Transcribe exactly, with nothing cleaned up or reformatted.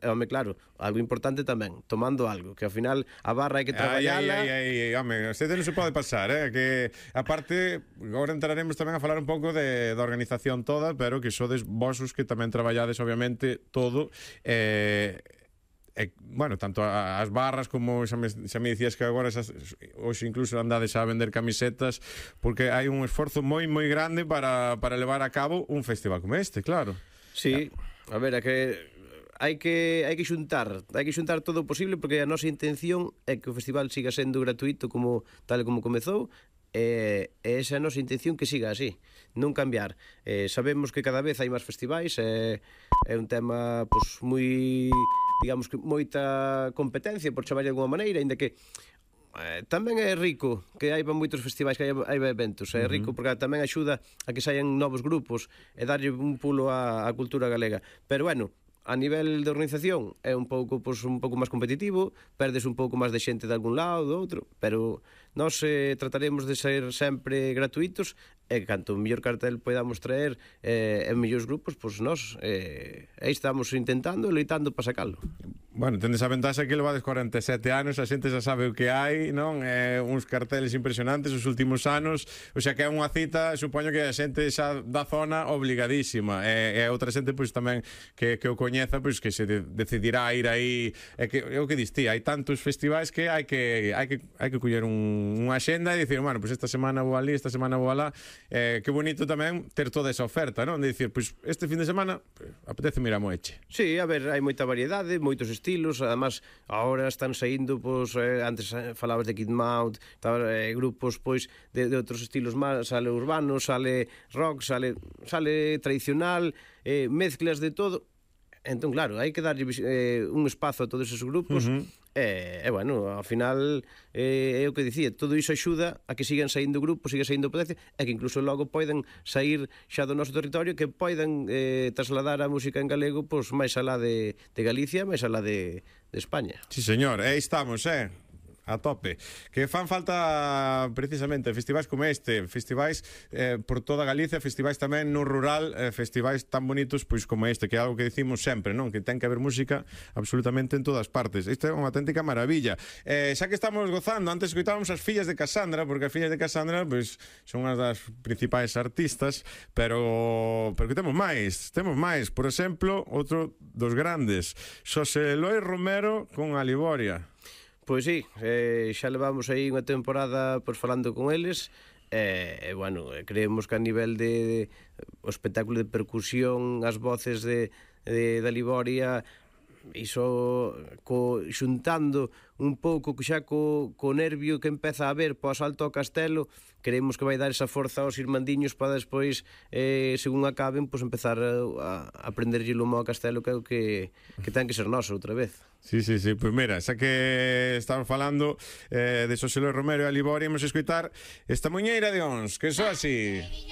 Home, claro, algo importante tamén, tomando algo, que ao final a barra hai que traballala. Ai, ai, ai, ai, home, este non se pode pasar, eh? Que, aparte, agora entraremos tamén a falar un pouco de, da organización toda, pero que sodes vos os que tamén traballades, obviamente, todo, eh... E, bueno, tanto as barras como xa me, xa me dicías que agora esas, hoxe incluso andades a vender camisetas, porque hai un esforzo moi moi grande para, para levar a cabo un festival como este, claro. Sí, a ver, é que hai que hai que xuntar, hai que xuntar todo o posible, porque a nosa intención é que o festival siga sendo gratuito como tal como comezou. E esa é a nosa intención, que siga así, non cambiar. eh, Sabemos que cada vez hai máis festivais, é, é un tema pois, moi, digamos que moita competencia, por chamar de alguma maneira, ainda que eh, tamén é rico que hai moitos festivais, que hai, hai eventos. É rico porque tamén axuda a que saian novos grupos e darlle un pulo á, á cultura galega. Pero bueno, a nivel de organización é un pouco pois, un pouco máis competitivo, perdes un pouco máis de xente de algún lado, do outro, pero nós eh, trataremos de ser sempre gratuitos, e canto mellor cartel podamos traer eh, en mellores grupos, pois nós eh, aí estamos intentando, loitando para sacalo. Bueno, tendes a ventaxa que levades cuarenta e sete anos, a xente xa sabe o que hai, non? Eh, uns carteles impresionantes os últimos anos, o sea que é unha cita, supoño que a xente xa da zona obligadísima, e, e outra xente pois tamén que, que o coñeza, pois que se de, decidirá ir aí, é que é o que diste, hai tantos festivais que hai que hai que hai que coller un, unha axenda e dicir, bueno, pois esta semana vou ali, esta semana vou alá. Eh, que bonito tamén ter toda esa oferta, non? De dicir, pois este fin de semana pues, apetece mirar Moeche. Sí, a ver, hai moita variedade, moitos estilos, además agora están saindo, pois, eh, antes falabas de Kid Mount, eh, grupos, pois, de, de outros estilos máis, sale urbano, sale rock, sale, sale tradicional, eh, mezclas de todo. Entón, claro, hai que darlle eh, un espazo a todos esos grupos. Uh -huh. E, e, bueno, ao final eh, é o que dicía, todo iso axuda a que sigan saindo grupos, siga saindo potencia, e que incluso logo poden sair xa do noso territorio, que poden eh, trasladar a música en galego pois máis alá de, de Galicia, máis alá de, de España. Sí, señor, aí estamos, eh a tope. Que fan falta precisamente festivais como este, festivais eh, por toda Galicia, festivais tamén no rural, eh, festivais tan bonitos pois como este, que é algo que decimos sempre, non? Que ten que haber música absolutamente en todas partes. Isto é unha auténtica maravilla. Eh, xa que estamos gozando, antes escoitábamos as fillas de Casandra, porque as fillas de Casandra pois son unhas das principais artistas, pero pero que temos máis, temos máis, por exemplo, outro dos grandes, Xosé Eloi Romero con Aliboria. Pois sí, eh, xa levamos aí unha temporada pois, falando con eles, e, eh, bueno, creemos que a nivel de, de o espectáculo de percusión, as voces de, de, de Liboria, iso co, xuntando un pouco xa co, co nervio que empeza a haber po asalto ao castelo, creemos que vai dar esa forza aos irmandiños para despois, eh, según acaben, pois empezar a, a aprenderlle lumo ao castelo, que é o que, que ten que ser noso outra vez. Sí, sí, sí, pois pues mira, xa que estamos falando eh, de Xosé Eloi Romero e Aliboria, imos escoitar esta muñeira de Ons, que só así.